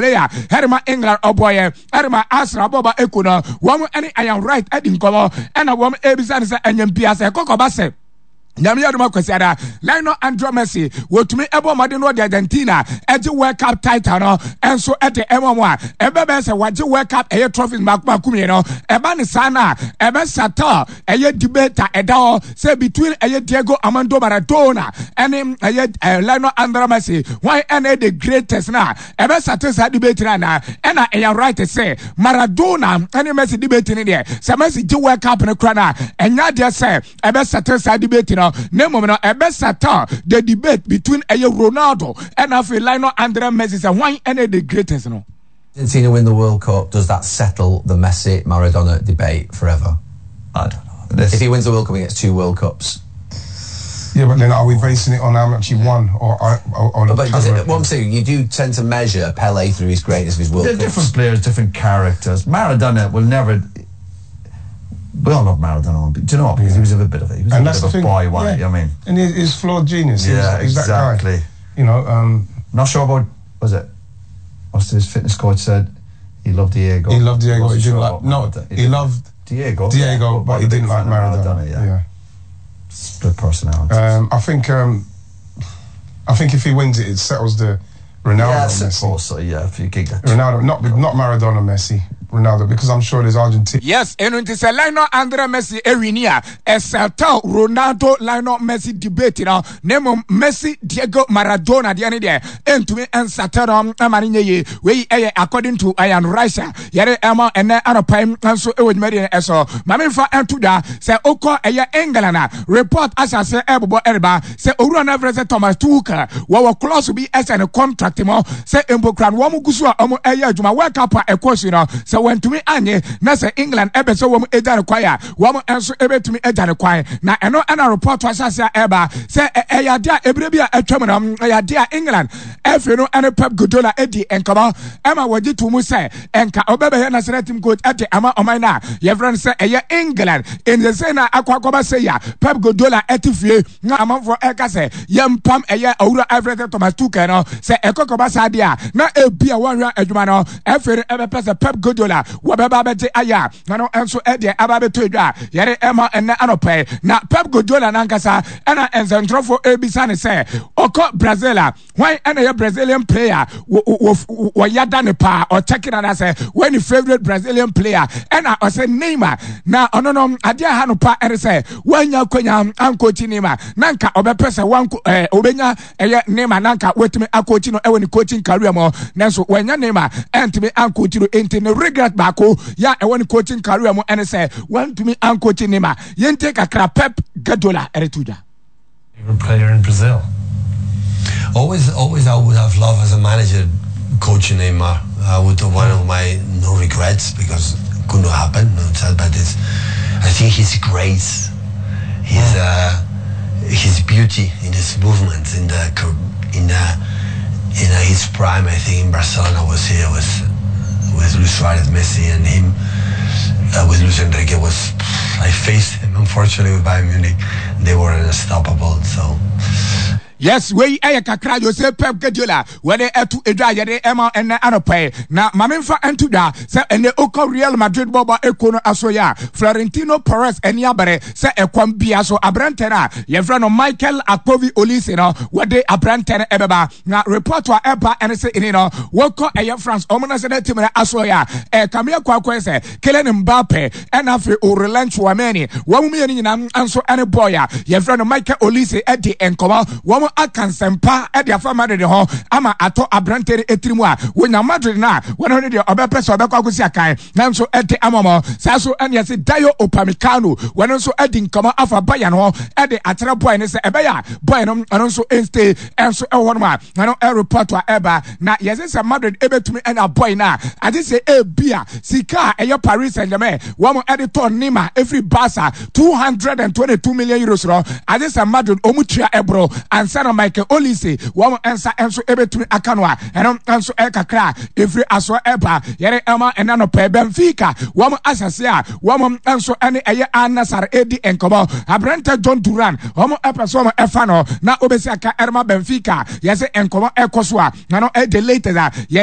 Player ɛde England ɔbɔyɛ ɛde Arsenal bɔba eko no, wɔn ɛne Ian Wright adi nkɔmɔ, ɛna wɔn ebisa no sɛ ɛnyɛ mpia sɛ kɔkɔba sɛ Nyame adom Akwasiada Lionel Andre Messi wɔtumi ɛbɔ mmɔden no ɔde Argentina ɛgye World Cup title no ɛnso ɛde ɛma mu a, ɛbɛbɛyɛ sɛ wagye World Cup ɛyɛ trophies mako mako mmienu. Ɛba ne saa no a, ɛbɛsata ɛyɛ debate a ɛda hɔ sɛ between ɛyɛ Diego Armando Maradona ɛne ɛyɛ Lionel Andre Messi, wɔn ɛna the greatest no a, ɛbɛsate saa debate no anaa. Ɛna ɛyɛ right sɛ Maradona ɛne Messi debate no deɛ, sɛ Messi gye World Cup no kora no a, ɛnyɛ adeɛ sɛ ɛbɛsate saa debate no, na mmom no ɛbɛsate the debate between ɛyɛ Ronaldo ɛna afei Lionel Andre Messi sɛ hwan ɛna the greatest no. Argentina win the World Cup, does that settle the Messi Maradona debate forever? I don't know. This... If he wins the World Cup, he gets two World Cups. Yeah, but then are we basing it on how much he won or But it, what I'm saying, you do tend to measure Pele through his greatness of his World They're Cups. Different players, different characters. Maradona will never. We all love Maradona, but do you know what? Because he was a bit of a, he was and a bit of a boy, wasn't he? I mean, and he's flawed genius. He's exactly. That guy. You know, not sure about, was it? What's his fitness coach said? He loved Diego. He loved Diego. He didn't like. No, he loved Diego. Diego, but he didn't like Maradona. Yeah. Split personality. I think if he wins it, it settles the Ronaldo. Yeah, I Messi. suppose so. Yeah, if you get that. Ronaldo, not Maradona, Messi. Ronaldo, because I'm sure there's Argentina. Yes, ɛno nti sɛ Lionel Andre Messi ewini a, ɛsɛtɛl Ronaldo Lionel Messi debate no, na mmom Messi Diego Maradona deɛ ne deɛ ɛntumi nsatɛ no ama no nyɛ yie. Wei ɛyɛ according to Ian Rice a yɛde ɛma ɛnɛ anɔpa yi nso ɛwɔ dwumadie no ɛso. Maame nfa ɛnto dwa sɛ okɔ ɛyɛ England a, report ahyɛ ɛbobɔ ɛreba sɛ owura no afrɛ sɛ Thomas Tuchel wɔwɔ clause bi ɛhyɛ ne contract mu sɛ mpokura no wɔn gu so a wɔn ɛyɛ adwuma, World Cup a ɛkɔ so no, sɛ wɔntumi anye na sɛ England ɛbɛ sɛ wɔn agya no kwan a, wɔn nso ɛbɛtumi agya no kwan. Na ɛno ɛna report ahyɛ ase a ɛba sɛ ɛyɛ adeɛ a ebire bi a atwam no, ɛyɛ adeɛ a England ɛfɛ no ɛne Pep Guardiola ɛdi nkɔmɔ ɛma wɔgye to mu sɛ ɛnka ɔbɛbɛyɛ national team coach ɛde ama ɔman no a yɛfrɛ no sɛ ɛyɛ England. Nsese na akɔ akɔba sɛ ya Pep Guardiola ɛte fie na amanfoɔ ɛka sɛ yɛmpam ɛyɛ owura ɛfrɛ sɛ Thomas Tuchel no, sɛ ɛkɔkɔba saa deɛ a, na ebi a wɔnhwɛ adwuma no ɛfɛ no ɛbɛpɛ sɛ Pep Guardiola wɔbɛba abɛgye ayɛ a, na no nso ɛdeɛ aba abɛtɔ edwa a yɛde ɛma ɛnɛ anɔpɛ. Na Pep Guardiola nankasa ɛna nsɛntwerɛfoɔ ebisa ne sɛ ɔkɔ Brazil a, hwan ɛna yɛ Brazilian player wɔyada ne paa, ɔkyɛke na sɛ wɔn ne favourite Brazilian player, ɛna ɔsɛ Neymar. Na ɔno no adeɛ ha no pa ɛne sɛ wɔanya akonya ankɔkyi Neymar, na nka ɔbɛpɛ sɛ wanko ɔbɛnya ɛyɛ Neymar na nka wɔatumi akɔkyi no ɛwɔ ne coaching career mu, nanso wɔanya Neymar ɛntumi ankɔkyi no. Nti ne regret baako yɛ a ɛwɔ ne coaching career mu ɛne sɛ wɔntumi ankɔkyi Neymar. Yɛntie kakra Pep Guardiola ɛde to dwa. Favorite player in Brazil? Always, I would have loved as a manager coaching Neymar. I would have one of my no regrets because it could not happen. No, but it's, I think his grace, his beauty in his movements, in his prime. I think in Barcelona was here with Luis Suarez, Messi, and him. With Luis Enrique was, I faced him unfortunately with Bayern Munich. They were unstoppable. So. Yes, wei ɛyɛ kakra Jose Pep Guardiola wɔde ɛto edwa a yɛde ɛma ɛnɛ anɔpɛ. Na maame nfa ɛnto dwa sɛ ɛnɛ okɔ Real Madrid bɔbɔ eko no aso yɛ a, Florentino Perez ɛni abere sɛ ɛkwan bia so aberantɛ no a yɛfrɛ no Michael Akpovi Olise no, wɔde aberantɛ no ɛbɛba. Na report a ɛba ɛne sɛ ɛni no wɔkɔ ɛyɛ France ɔmo national team no aso yɛ a, ɛkame akɔ akɔyɛ sɛ Kylian Mbappe ɛna afei Aurelien Tchouameni, wɔn mmienu nyinaa nso ɛne boy a yɛfrɛ no Michael Olise ɛdi nkɔmɔ. Wɔn aka nsɛmpa ɛde afa Madrid ho ama atɔ aberante no etiri mu a wonya Madrid no a, wɔn ho no deɛ ɔbɛpɛ sɛ ɔbɛkɔ akɔsi akan nanso ɛde ama wɔn saa so. Ɛne ɛsɛ Dayo Upamecano, wɔn nso ɛdi nkɔmɔ afa Bayern ho ɛde akyerɛ boy no sɛ ɛbɛyɛ a boy no ɔno nso ɛnstay ɛnso ɛwɔ hɔ nom a, ɛno ɛreport a ɛba. Na yɛsɛ sɛ Madrid ɛbɛtumi ɛnya boy no a, agye sɛ ebi a sika a ɛyɛ Paris Saint-Germain wɔn ɛde tɔ Neymar ɛfiri Barca, €222 million no, agye sɛ Madrid wɔn tua ɛboro ansa na Michael Olise wɔn nsa nso ɛbɛtumi aka no a, ɛno nso ɛkakra ɛfiri asoɔ ɛba yɛde ɛma ɛna no pɛɛ. Benfica wɔn asase a wɔn nso ɛne ɛyɛ Al Nassr ɛdi nkɔmɔ, aberante John Duran, wɔn ɛpɛ so wɔn ɛfa no na obɛsi aka ɛrema Benfica. Yɛsɛ nkɔmɔ ɛkɔ so a, na no ɛde latest a yɛ